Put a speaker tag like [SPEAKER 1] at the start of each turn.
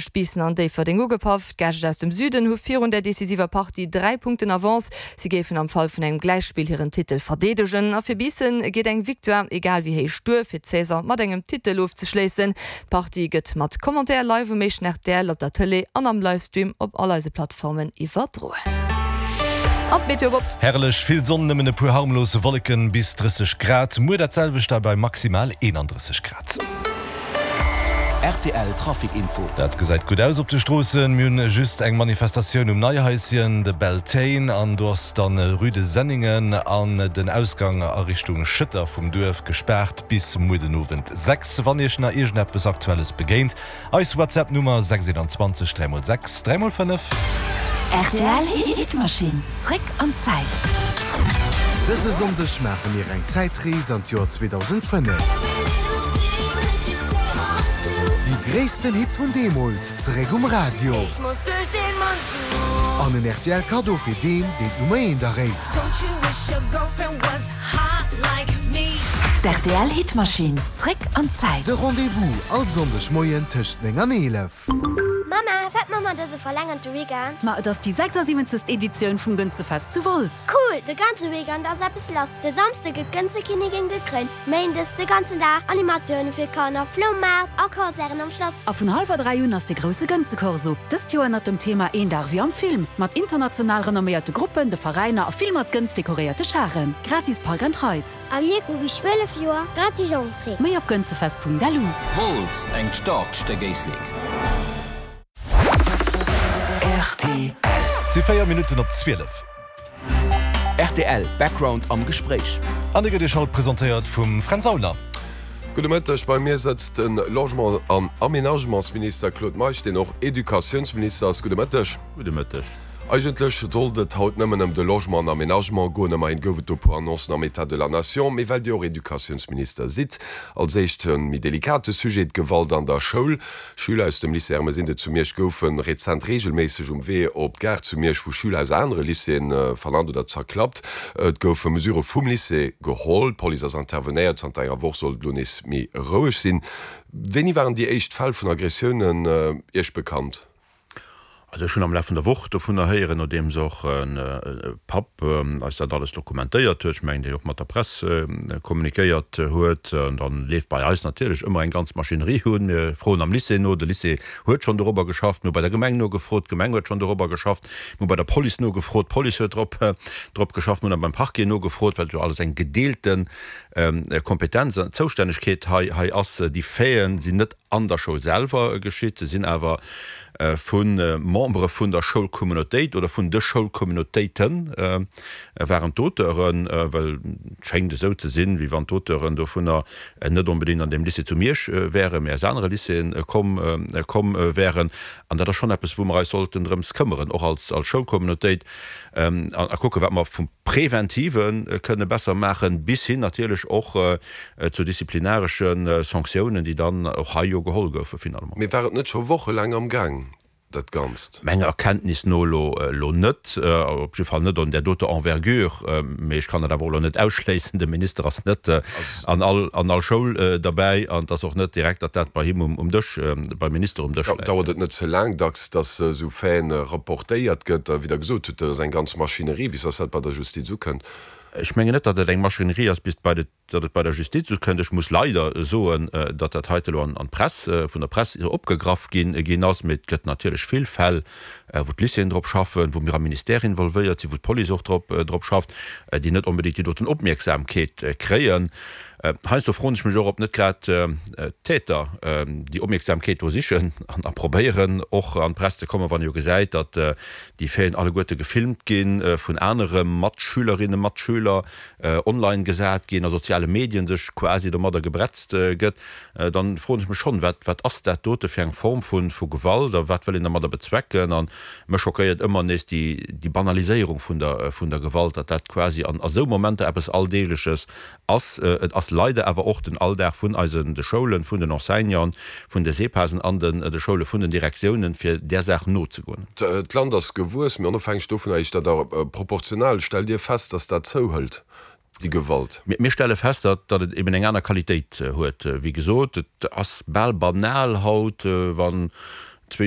[SPEAKER 1] Biissen an Déifferdeng ugepaff. D'Gäscht aus dem Süden hu virun der decisiver Partie 3 Punkten Avance. Si géifen am Fall vun engem Gläichspill hiren Titel verdeedegen. A fir Biissen geet eng Victoire, egal wéi héich, duer, fir d'Saison mat engem Titel ofzeschléissen. D'Partie gëtt mat Commentaire live um éischten rtl, op der Tëlee an am Livestream op all eise Plattformen iwwerdroen. An d'Meteo op.
[SPEAKER 2] Herrlech vill Sonn, nëmmen e puer harmlos Wolleken, bis 30 Grad. Muer dat selwecht a bei maximal 31 Grad.
[SPEAKER 3] Rtl Trafic Info.
[SPEAKER 2] Dat gesäit gutt aus op de Stroossen. Mir hunn just eng Manifestatioun um Neihaischen, de Beltane, an do ass dann Rue de Senningen an den Ausgang a Richtung Schëtter vum Duerf gespaart bis muer den Owend 6. Wann Iech nach iergendeppes Aktuelles begéint, Eis WhatsApp Nummer 621 3x6 3x5.
[SPEAKER 4] Rtl Hitmaschinn, zréck an d'Zäit.
[SPEAKER 5] Dëse Sonndeg maache mir eng Zäitrees an d'Joer 2005. Déi gréissten Hits vun deemools zeréck um Radio. An en rtl Kaddo fir deen, deen d'Nummer eent erréit.
[SPEAKER 4] D'RTL Hitmaschinn, zréck an d'Zäit.
[SPEAKER 5] De Rendez-vous all Sonndeg Moien tëscht 9 an 11.
[SPEAKER 6] Mama, wat man mer dëse verlängerte Weekend?
[SPEAKER 7] Ma et ass déi 76. Editioun vum Gënzefest zu Wolz.
[SPEAKER 6] Cool, de ganze Weekend ass eppes lass. De Samsde gëtt d'Gënzekinnigin gekréint, Méindes de ganzen Dag Animatioune fir d'Kanner, Floumaart a Concerten am Schlass.
[SPEAKER 7] A vun hallwer 3 un ass de grousse Gënzekorso, dëst Joer ënnert dem Thema Een Dag wéi am Film, mat international renomméierte Gruppen, de Veräiner a vill mat Gënz dekoréierte Charen. Gratis Park and Ride.
[SPEAKER 6] A mir hu bis 12 Joer gratis Entrée.
[SPEAKER 7] Méi op gënzefest.lu.
[SPEAKER 3] Wolz, engt staarkt Stéck Éislek.
[SPEAKER 2] Et si 4 Minutten op 12.
[SPEAKER 3] Rtl Background am Gespréich.
[SPEAKER 2] An dee gëtt Iech haut presentéiert vum Fränz Aulner.
[SPEAKER 8] Gudde Mëtteg, bei mir sëtzt de Logement an Aménagementsminister Claude Meisch, deen och Educatiounsminister ass. Gudde Mëtteg.
[SPEAKER 9] Gudde Mëtteg.
[SPEAKER 8] Eigentlech sollt et haut nëmmen ëm de Logement an Aménagement goen. Ëmmerhin gouf et do e puer Annoncen am État de la Nation. Mee well Dir och Educatiounsminister sidd, als éischt e méi delikate Sujet, d'Gewalt an der Schoul. Schüler aus dem Lycée Ermesinde zu Miersch goufe rezent reegelméisseg um Wee op d'Gare zu Miersch vu Schüler aus anere Lycéeë vernannt oder zerklappt. Et goufe Mesurë vum Lycée geholl, d'Police ass intervenéiert. Zanter enger Woch soll et elo nees méi roueg sinn. Wéini waren déi éischt Fäll vun Aggressiounen Iech bekannt?
[SPEAKER 9] Also ech hunn am Laf vun der Woch dovunner héieren, nodeems och e Papp eis dat alles dokumentéiert huet, ech mengen, deen och mat der Press kommunikéiert huet. An da leeft bei eis natierlech ëmmer eng ganz Maschinerie un. Mir froen am Lycée no, de Lycée huet schonn dorobber geschafft. Mir hu bei der Gemeng nogefrot, d'Gemeng huet schonn dorobber geschafft. Mir hu bei der Police nogefrot, d'Police huet drop drop geschafft. Mir hunn da beim Parquet nogefrot, well et jo alles eng gedeelte Kompetenz an Zoustännegkeet hei hei ass. Déi Faiten sinn net an der Schoul selwer geschitt, se sinn awer vu Membere vun der Schoulcommunautéit oder vun de Schoulcommunautéite waren d'Auteuren, well et schéngt esou ze sinn, wéi wann d'Auteuren dovunner net onbedéngt an deem Lycée zu Miersch wären, mä aus anere Lycéeë komm komm wären. An dat ass schonn eppes, wou mer eis sollten drëms këmmeren, och als als Schoulcommunautéit, a kucken, wat mer vum Preventive kënne besser maachen, bis hin natierlech och zu disziplinaresche Sanktiounen, déi dann och hei jo geholl goufe finalement.
[SPEAKER 8] Mee war et net scho wochelaang am Gaang, dat Ganzt?
[SPEAKER 9] Menger Erkenntnis no elo elo net, op jidde Fall net an där doter Envergure. Mee ech kann dat awer och elo net ausschléissen. De Minister ass net an all an all Schoul derbäi an et ass och net direkt, datt dat bei him um Dësch, beim Minister um Dësch läit.
[SPEAKER 8] Dauert et net ze laang dacks, datt esou Faiten rapportéiert gëtt a wéi Der gesot hutt, dat ass eng ganz Maschinerie, bis datt dat bei der Justiz ukënnt?
[SPEAKER 9] Ech mengen net, datt et eng Maschinerie ass, bis bei de, datt et bei der Justiz ukënnt. Ech muss leider soen, datt dat heite elo an d'Press, vun der Press opgegraff ginn ginn ass. Mee et gëtt natierlech vill Fäll, wou d'Lycéeën drop schaffen, wou mir am Ministère involvéiert sinn, wou d'Police och drop drop schafft, déi net onbedéngt déi doten Opmierksamkeet kréien. Heiansdo froen ech mech och, ob net grad d'Täter déi Opmierksamkeet do sichen an a probéieren och an d'Press ze kommen, wann ee jo gesäit, datt déi Faiten alleguerte gefilmt gi vun anere Matschülerinnen, Matschüler, online gesat ginn, a soziale Medien sech quasi domadder gebretzt gëtt, dann froen ech mech schonn, wat wat ass dat dote fir eng Form vu vu Gewalt a wat wëll een domadder bezwecken? A mech schockéiert ëmmer nees déi déi Banaliséierung vun der vun der Gewalt, datt dat quasi an a sou Momenter eppes Alldeegleches Ass. Et ass leider awer och den Alldag vun eisen de Schoulen, vun den Enseignanten, vun de SEPASen an den de Schoule vun den Direktiounen, fir där Saach nozegoen.
[SPEAKER 8] D'Land ass gewuess, mee onofhängeg dovunner heescht dat awer proportional. Stellt Dir fest, datt dat zouhëlt, déi Gewalt?
[SPEAKER 9] Mir stelle fest, datt et eben eng aner Qualitéit huet. Wéi gesot, et ass bal banal haut, wann. Zwee Jonker.